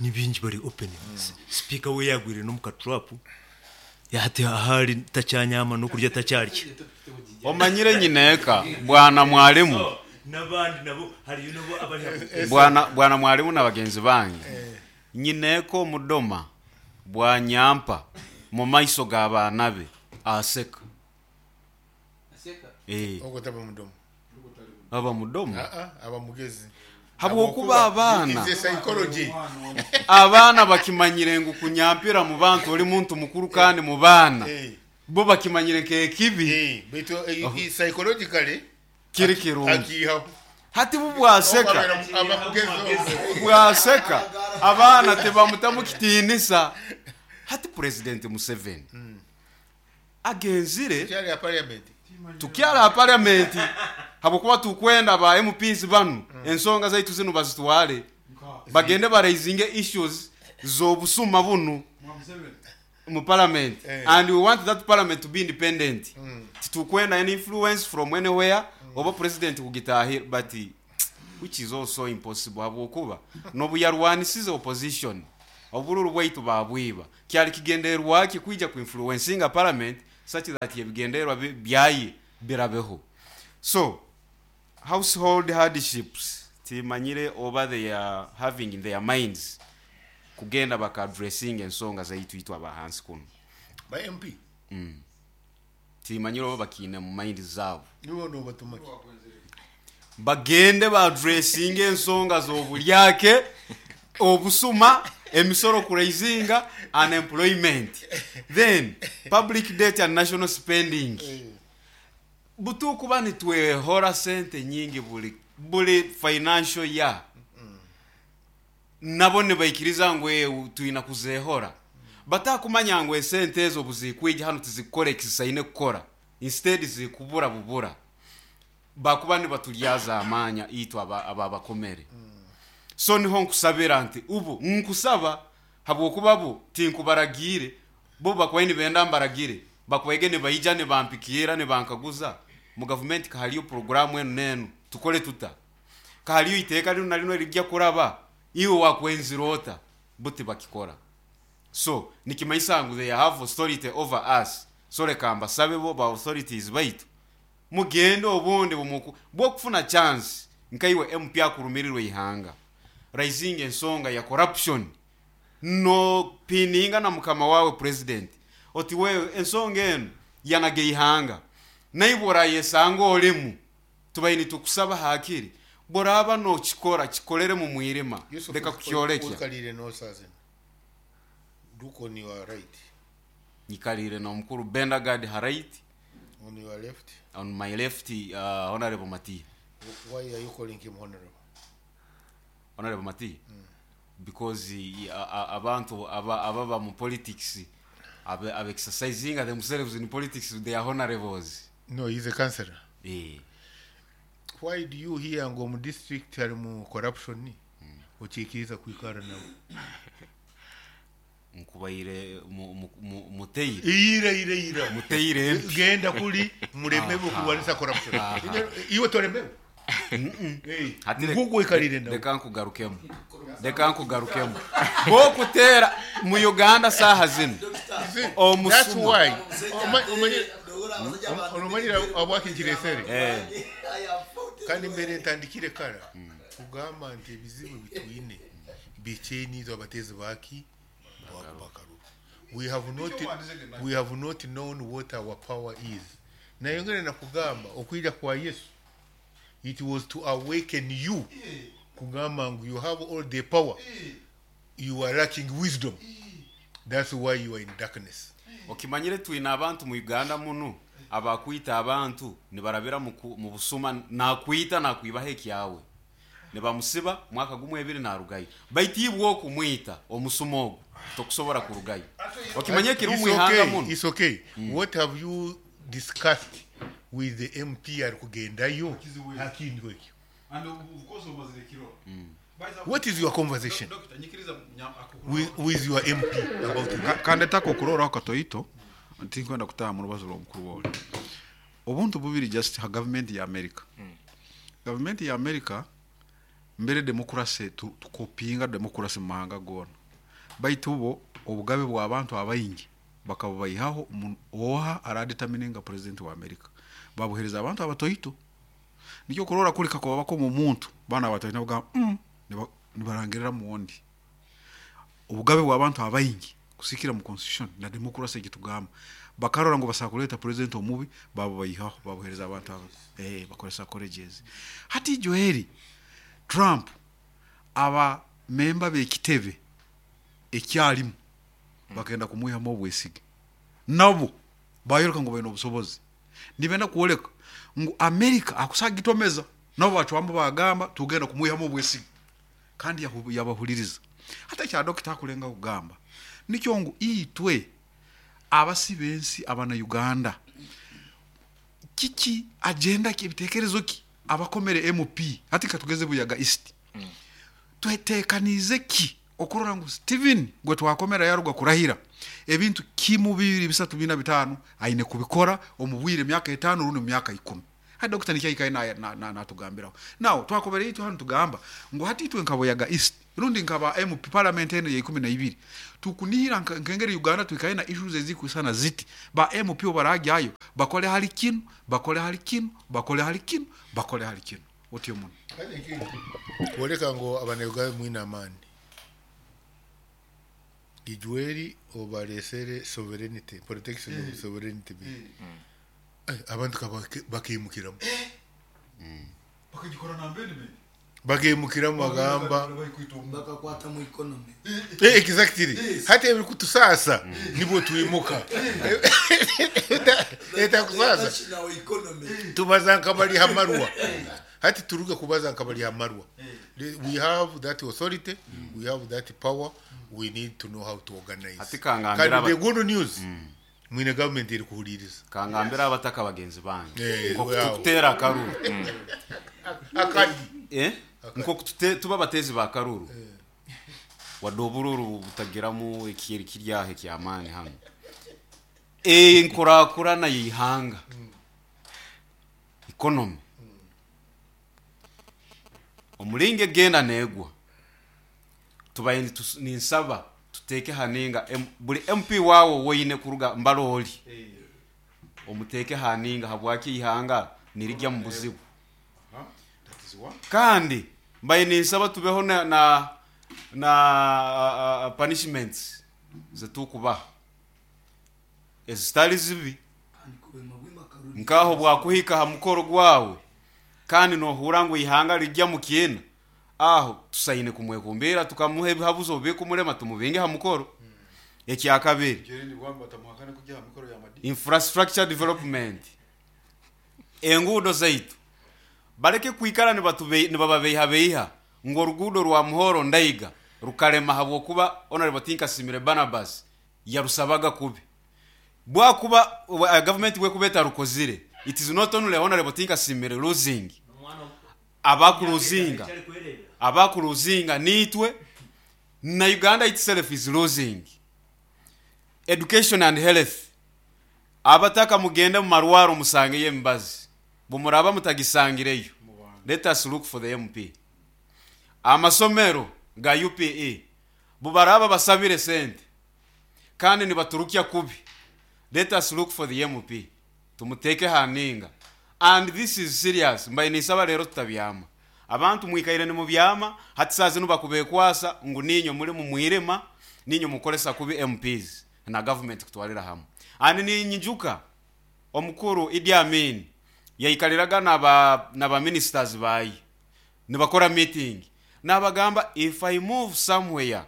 ni bingi bari open. Mm. Speaker we yagwire no mukatrap yati ahari tacyanyama no kurya tacyarya. Omanyire nyineka bwana mwalimu so, nabandi nabo hari nabo abari bwana bwana mwalimu na bagenzi bange. Nyineko mudoma bwanyampa mu maiso g'abaana be aseka. Aseka. Eh. Ogotaba mudomo. Aba mudomo. Ah ah aba mugezi. Habwokuba abaana abaana bakimanyire ngu kunyampira mu bantu oli muntu mukuru kandi mu baana bo bakimanyire kekibi eh baitu psychologically kiri kirungi hati bubwaseka bwaseka abaana tebamutamu kitiinisa. Hati President Museveni agenzire tukyala parliament habwokuba tukwenda ba M Ps banu ensonga zaitu zino bazitwale bagende baraisinge issues z'obusuma bunu mu parliament eh. And we want that parliament to be independent. Mm. Titukwenda any influence from anywhere oba president kugitahira, but which is also impossible habwokuba nobuyarwanisize opposition obululu bwaitu babwiba kyali kigenderwa ki kwija ku influencinga parliament such that ebigenderwa byaye Birabeho. So household hardships timanyire oba they are having in their minds kugenda baka addressing ensonga zaitu itwe abahansi kuno. Ba M P. Timanyire oba bakiine mu mind zaabo. Nibo nobatuma ki? Bagende baaddressinga ensonga z'obulyake, obusuma, emisoro kuraisinga, unemployment, then public debt and national spending. Butukuba nitwehora sente nyingi buli buli financial year, nabo nibaikiriza ngu "Eh, twina kuzehora." Batakumanya ngu esente ezo buzikwija hano tizikukora ekizisaine kukora, instead zikubura bubura. Bakuba nibaturyaza amanya itwe aba aba bakomere. So niho nkusabira nti ubu nkusaba, habwokuba bo tinkubaragire, bo bakubaye nibenda mbaragire, bakubaige nibaija nibampikira nibankaguza mu gavumenti kahaliyo programu enu nenu, tukole tuta, kahaliyo iteeka lino na lino rijya kuraba, iwe wakwenzira ota? Buti bakikora. So nikimanyisa ngu they have authority over us. So leka mbasabe bo ba authorities baitu mugende obundi bumuku bwokufuna chance nkaiwe M P akurumirirwe ihanga, raising ensonga ya corruption, no pininga na mukama wawe president oti wewe ensonga eno yanage ihanga, naibwe orayesanga olimu tubaye nitukusaba hakiri boraba nokikora kikolere mu mwirima. Yusuf, leka kukyolekya. Uikalire nosazina look on your right. Nyikalire na omukuru Bendagad ha right. On your left. On my left, uh, Honorable Mati. Why are you calling him honorable? Honorable Mati, because uh, uh, abantu aba ababa mu politics, abe, abe exercising themselves in politics, they are honorables. No, he's a councillor. Eh. Why do you hear ngo mu district harimu corruption, okiikiriza kwikara nawe? Nkubaire mu- mu- mu- muteire. Iyira ira ira. Muteire empi. Genda kuli mulemewe kulwanisa corruption. Iwe tolemewe. Eh, Hati leka- ngugu ikalire nawe. Leka nkugarukemu, leka nkugarukemu. Bokutera mu Uganda saha zino See, that's omusuma. why Oma- omanyire omanyire abwakinkiresere Eh, kandi mbere ntandikire kara kugamba nti ebizibu bitwine bikyenizo abatezi baki bakaruru. we have not we have not known what our power is. Nayongere nakugamba okwija kwa Yesu, it was to awaken you, kugamba ngu you have all the power, you are lacking wisdom, that's why you are in darkness. Okimanyire twine abantu mu Uganda muno abakwita abantu nibarabira mu ku- mu busuma, nakwita nakwibaho ekyawe, nibamusiba mwaka gumwe ebiri narugayo, baitu ibwe okumwita omusuma ogu tokusobora kurugayo. Okimanye kiri It's mu ihanga okay, muno. it's okay. What have you discussed with the M P ari kugendayo hakintu ekyo? And of course omazire kiro. What is your conversation with, with your M P about it? Ka- kandetako okuroraho katoito tinkwenda kutaha mu rubazo rw'omukuru wawe obuntu bubiri just ha gavumenti ya America. Gavumenti ya America mbere demokrasi tu- tukopinga demokrasi mu mahanga gona, baitu bo obugabe bw'abantu abaingi bakabubayihaho. Omu- oha aradetermininga president wa America? Babuhereza abantu abatoito. Nikyo kurora kuri kakuba bakoma omuntu bana abatoito nibagamba mm, niba- nibarangirira muwondi. Obugabe bw'abantu abaingi kusikira mu constitution na demokrasi ekitugamba, bakarora ngu basobola kuleeta president omubi, babubayihaho, babuhereza abantu abo, eh, bakoresa colleges. Hati Joeli, Trump aba memba b'ekitebe ekyalimu bagenda kumwihamu obwesige, nabo bayoreka ngu baine obusobozi, nibenda kwoleka ngu America akusagitomeza, nabo bacwamu bagamba tugenda kumwihamu obwesige, kandi yahu- yabahuliriza. Hata ekya dokita akulenga kugamba nikyo ngu itwe abasi b'ensi abana Uganda, kiki agenda ki, ebitekerezo ki abakomere M P? Hati katugeze Buyaga East, twetekanize ki okurora ngu Steven gwe twakomera yaruga kurahira, ebintu kimu, bibiri, bisatu, bina, bitano aine kubikora omu bwire emyaka etaano rundi mu myaka ikumi? Hati dokita nikyo aikaire na- na- natugambiraho. Now twakobere itwe hanu tugamba ngu hati itwe nka Buyaga East rundi nkaba M P parliament eno ya ikumi na ibiri, tukunihira nka- nkengeri Uganda twikaire na issues ezikwisana ziti, ba M P barajyayo bakole hali kinu, bakole hali kinu, bakole hali kinu, bakole hali kinu, otyo muno. Kwoleka ngu Abanyauganda mwine amaani, ijweri obalesere sovereignty, Protection of Sovereignty Bill. Eh, abantu ka bake- bakimukiramu Bakagikora na amendment. Bakimukiramu bagamba Bakakwata mu economy. Eh, exactly, hati ebiri kutusasa nibwo twimuka etakusasa. National economy. Tubaza nkabali hamarwa, hati turuge kubaza nkabali hamarwa. We have that authority, we have that power, we need to know how to organize. Ati kangambira Kandi aba- the good news, mwine government eri kuhuliriza. Kangambira abataka bagenzi bange Eh, nko wow. kutukutera akaruru. Akadi. Eh? Nko kutute tuba abatezi ba karuru, wadde obururu butagiramu ekiri kiryaho ekyamaani hano, enkurakurana yihanga, economy omulinga egenda negwa, tubaye nitus- ninsaba tuteeke haninga M- buli M P waawo woine kuruga mbaloli omuteeke haninga, habwaki ihanga nirijya mu buzibu. Kandi mbaye ninsaba tubeho na na, na uh, punishments zetukubaha ezitali zibi, nkaho bwakuhika ha mukoro gwawe kandi nohura ngu ihanga rijya mu kiina, aho tusaine kumwekumbira, tukamuha ebihabuzo bikumurema, tumubinge ha mukoro. Ekyakabiri, infrastructure development, enguudo zaitu baleke kwikara nibatube- nibababeihabeiha ngu oruguudo rwa Muhoro Ndaiga rukarema habwokuba Honorable Tinkasimire Barnabas yarusabaga kubi. Bwakuba uh, government bwekuba etarukozire, it is not only Honorable Tinkasimire losing, abakuruzinga abakuruzinga nitwe na Uganda itself is losing. Education and health, abataka mugende mu marwaro musangeyo emibazi, bumuraba mutagisangireyo, let us look for the M P. Amasomero ga U P E, bubaraba basabire sente kandi nibaturukya kubi, let us look for the M P, tumuteke haninga. And this is serious, mbaye nisaba rero tutabyama. Abantu mwikaire ni mubyama, hati saa zino bakubekwasa ngu ninyo muri mu mwirema, ninyo mukolesa kubi M Ps na government kutwalira hamwe. And ninyijuka omukuru Idi Amin yaikaliraga naba naba ministers bayi nibakora meeting, nabagamba, "If I move somewhere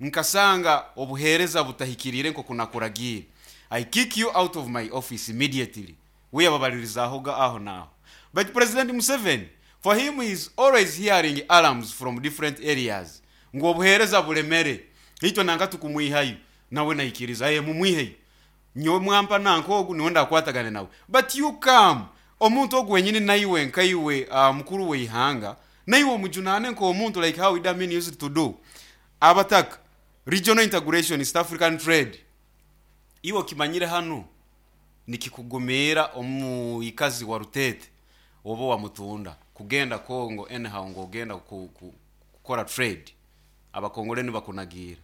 nkasanga obuhereza butahikirire nko kunakuragira, I kick you out of my office immediately." Wiyababalirizahoga aho naho. But President Museveni, for him, he is always hearing alarms from different areas ngo obuhereza bulemere, itwe nanka tukumwihayo, nawe naikiriza, "Ye mumwiheyo, nyowe mwampa nanka ogu niwe ndakwatagane nawe." But you come, omuntu ogu wenyini naiwe nkaiwe uh, mukuru weihanga, naiwe omujunane nk'omuntu, like how Idi Amin used to do. Abataka, regional integration, East African trade, iwe okimanyire hano nikikugumira omuikazi wa Rutete oba wa Mutunda kugenda Congo anyhow ng'ogenda ku, ku, kukora trade, Abakongole nibakunagira,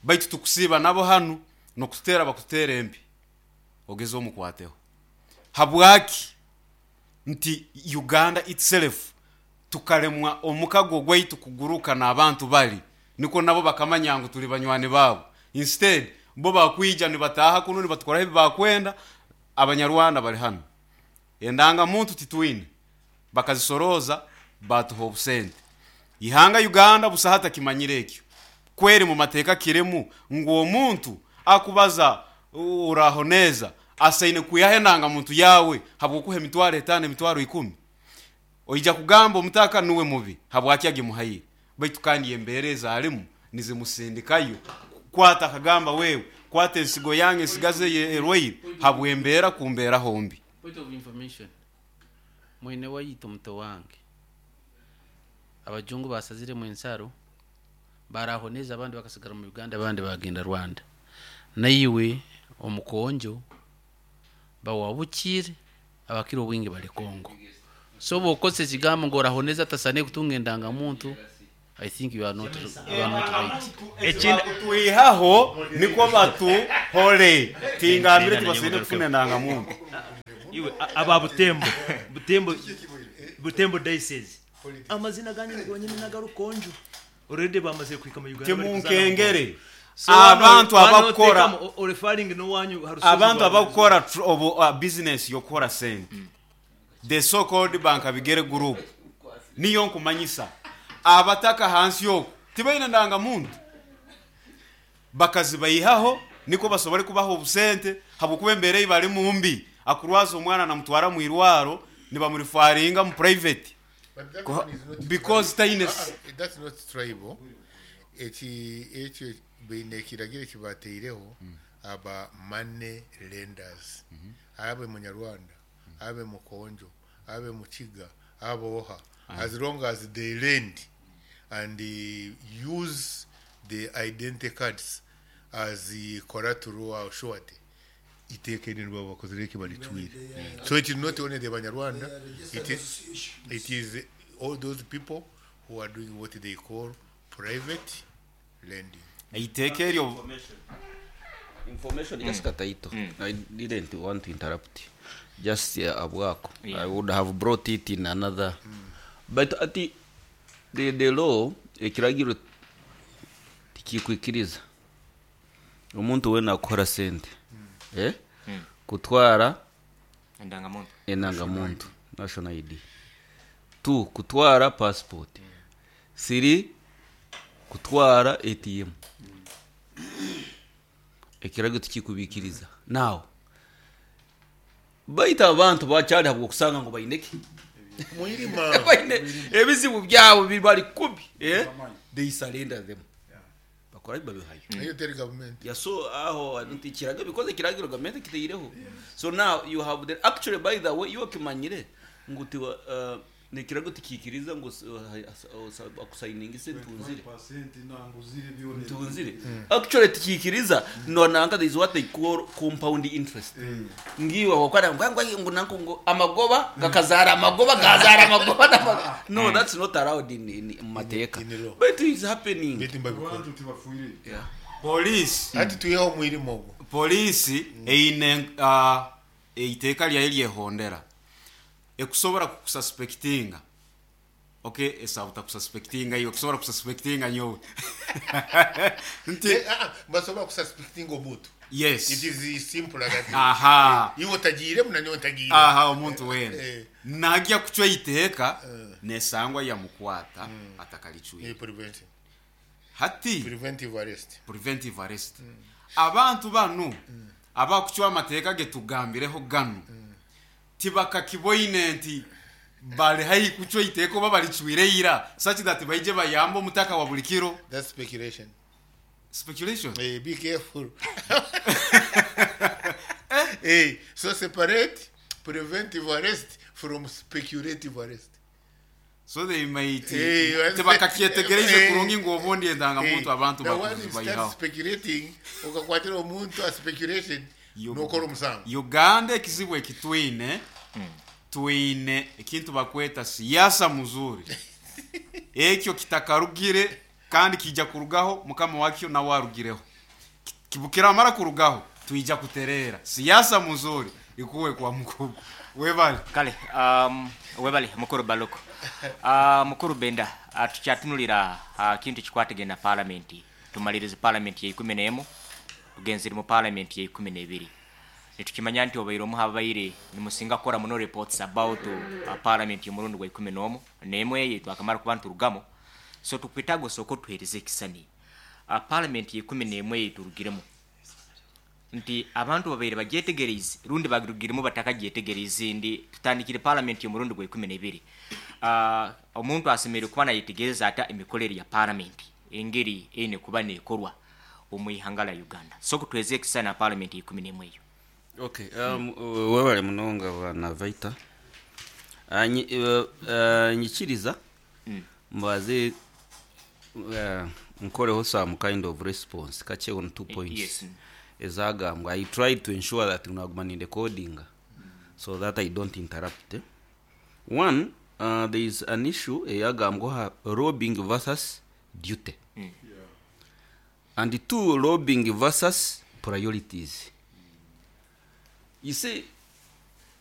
baitu tukusiiba nabo hano nokutera bakutera empi ogeze omukwateho. Habwaki nti Uganda itself tukaremwa omukago gwaitu kuguruka n'abantu bali niko nabo bakamanya ngu tuli banywani babo? Instead bo bakwija nibataha kuno nibatukoraho ebi bakwenda. Abanyarwanda bali hano, endangamuntu titwine, bakazisoroza batuha obusente. Ihanga Uganda busa hatakimanyire ekyo kweri mu mateeka kiremu ngu omuntu akubaza uraho neza asaine kwihaho endangamuntu yawe habwokuha emitwaro etaano, emitwaro ikumi. Oija kugamba omutaka nuwe mubi, habwaki agimuhaire? Baitu kandi embeera ezalimu nizimusindikayo kwata akagamba, "Wewe kwata ensigo yange ensigaze erwaire," habwembeera kumbeera hombi. Point of information, mwene wayita omuto wange, abajungu basaziremu ensaro, barahoneza abandi bakasigara mu Uganda, abandi bagenda Rwanda. Naiwe omukonjo bawabukire. Abakira obwingi bali Congo. So bwokozesa ekigambo ngu orahoneza atasane kutunga endangamuntu, I think you are not, you are not right. Ekindi twihaho niko batuhore tingambire tibasine kufuna endangamuntu. Iwe a- aba Butembo, Butembo, Butembo diocese, amazina ganyu gonyine nagarukonjo already bamaze kwika mu Uganda bari kuzana. Timunkengere. So hano- Abantu hano abakora tekamo, o- referring n'owanyu harusozi abantu rwa- abakora tr- obu uh, business yokukora sente, the so called bank abigere group, niyo nkumanyisa abataka hansi yoku tibaine ndangamuntu, bakazibayihaho niko basobole kubaha obusente, habwokuba embeera ei bari mumbi. Akurwaza omwana namutwara mu irwaro, nibamurifaringa mu private. But that Kuha- one is not because tribal. taine Ah, ah, that's not tribal. Eki ekyo baine ekiragiro ekibateireho aba money lenders, abe munyarwanda, abe mukonjo, abe mukiga, abe oha, as long as they lend and uh, use the identity cards as the collateral or surety, iteeka eri nibo bakozire eki baricwire. So it is not only the Banyarwanda, it is, it is all those people who are doing what they call private lending. Iteeka eryo. Information, just kataito. I didn't want to interrupt, just uh, abwako. Yeah. I would have brought it in another, but ati the, the law, ekiragiro tikikwikiriza omuntu wena akukora sente, eh? Kutwara endangamuntu, endangamuntu, national I D. Two, kutwara passport. Three, kutwara A T M. Ekiragiro tikikubikiriza. Now baita abantu bakyali habwo okusanga ngu baineki Mwirima. baine ebizibu byabo bibali kubi, eh? They surrender them, bakora babihayo. Nayo teri government. Yeah, so aho nti kiragiro, because ekiragiro gavumenti kiteireho. So now you have the, actually, by the way, iyo kimanyire ngu tiwa uh, nekirago tikikiriza ngu akusayininga ise ntunzire ntunzire. Actually tikikiriza no nanga there is what they call compound interest. Ngiwe wakwana ngwa ngo nanko ngo amagoba gakazara amagoba gazara amagoba n'amagoba. No, that's not allowed in in mateka. In law. But it is happening. Beti mbabikora. Yeah. Polisi. Ati twihaho mwirima ogwo. Polisi eine uh, eiteeka lyayo lyehondera ekusobora kukususpectinga. Okay, esaba takususpectinga iwe, kusobora kususpectinga nyowe nti Eh, ah, ah, basobola kususpectinga omuntu. Yes. It is simple like that. Aha. Iwe otagiiremu nanyowe ntagiire. Aha, omuntu wena Eh. nagya kucwa iteeka nesangwa yamukwata atakalicwire. Eh, preventive. Hati preventive arrest. Preventive arrest. Abantu banu abakucwa amateeka getugambireho gano tibakakiboine nti bali haihi kucwa iteeka oba balicwire ira, such that baije bayambe omutaka wa buli kiro. That's speculation. Speculation. Eh, be careful. Eh, so separate preventive arrest from speculative arrest. So they might Eh, tibakakyetegereize eh, kurungi ngu obundi endangamuntu Eh, abantu now when you start bayihaho. speculating, okakwatira omuntu a speculation, nokora omusango. Uganda ekizibu ekitwine, twine ekintu bakweta siyasa muzuri. Ekyo kitakarugire kandi kijja kurugaho mukama wakyo nawe arugireho. Ki- kiramara kurugaho twija kuterera. Siyasa muzuri ikuwe kwa mkubwa webale. Kale, um, webale mukuru Baloko. uh, mukuru Benda, uh, tukyatunulira uh, kintu kikwatagana parliament. Tumalirize parliament ya ikumi n'emu, tugenzere mu parliament ya ikumi n'ebiri. Nitukimanya nti obaire omu habaire nimusinga kukora muno reports about uh, parliament y'omurundi gwa ikumi n'omu n'emwe eyo twakamara kuba nturugamu. So tukwetaaga osooka otuheereze ekisani, uh, parliament ya ikumi n'emwe eyo turugiremu, nti abantu babaire bagyetegereize rundi bagirugiremu batakagyetegereize, ndi tutandikire parliament y'omurundi gwa ikumi n'ebiri. uh, omuntu asemereire kuba nayetegereza ata emikorere ya parliament, engeri eine kuba nekorwa omu ihanga lya Uganda? So kutweze ekisani na parliament ya ikumi n'emwe eyo. Okay, um, webale munonga bwana Vaita. uh, nyi, uh, uh, nyikiriza mbaze uh, nkoreho some kind of response kache on two points Yes. ezagambwa. I tried to ensure that naguma ni recording. so that I don't interrupt. eh. One, uh, there is an issue eyagambwaho lobbying versus duty. And two, lobbying versus priorities. You see,